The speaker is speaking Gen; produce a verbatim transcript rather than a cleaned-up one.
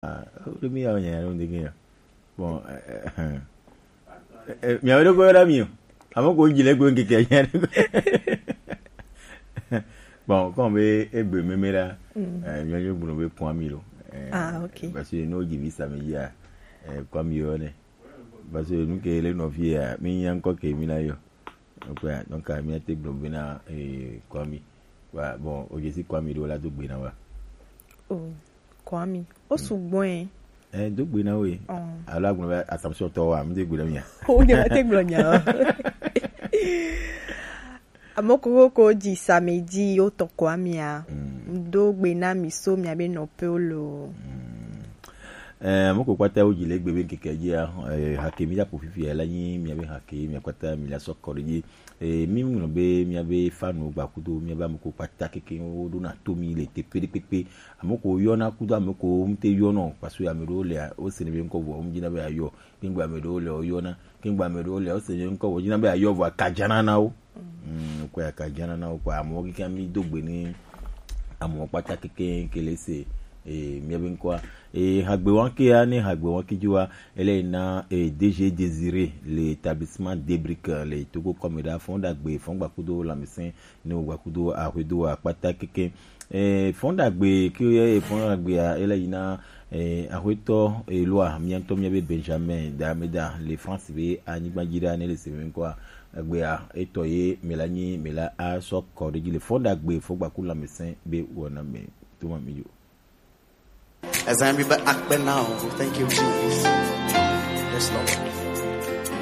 Ah, le mi ya nya ya ndenge ya. Bon, eh, eh, eh, eh, mi awe ko yɔna mi o. Amo ko jile ko nkeke ya. Bon, comme be egbe meme la, eh, mi ajo gbuno be Kwami lo. Eh, Ah, ok. Parce que no jivi samedi ya, eh, Kwami yo ne. Parce que nous que les noviers, mi nya encore que mi na yo. Donc, ouais, donc, euh, mi ate gbuno be na, eh, Kwami. Ouais, bon, oje si Kwami do la do gbe na wa. Oh, Kwami. O sugbon e. Eh, do gbe na we. Oh. Alors, gbuno be Assumption to wa, mi de gbe na mi ya. O de te gblɔ nya. Amo koko ko di samedi o tɔ Kwami a. Do gbe na mi so mi abe nɔ pe o lo. Eh, amo ko kpata o jile gbe be nkeke ya, eh, hake mi da po fifi ya la nyi mi abe hake mi kpata mi la sɔ kɔ de. Eh, mi mu be mi abe fanu gba kudo mi abe amo ko kpata keke o do na to mi le te pede pepe. Amo ko yɔna kudo amo ko mu te yɔna parce que ame do le o se ne be nko vo mu jina be ayo. Kengba ame do le o yɔna. Kengba ame do le o se ne be nko vo jina be ayo vo akajana na o. Mm, ko ya kajana na o ko amo keke mi do gbe ni amo kpata keke kele se, eh, mi abe nko a. Eh, hagbe wanke ya ne hagbe wanke jua, ele na, eh, D G Désiré, l'établissement Debrick, le Togo comme da fonda gbe fongba kudo la mesen, ne o gba kudo a huedo a kpata keke. Eh, fonda gbe ki o ye fonda gbe a, ele na, eh, a hueto e loi, mi anto mi be Benjamin da me da, le France be a ni gba jira ne le se me nko a. Gbe a, eto ye, me la ni, me la a so ko de le fonda gbe fongba ku la mesen be wona me. Tuma mi yo. As I remember, Akpe now. Thank you, Jesus. Yes, Lord.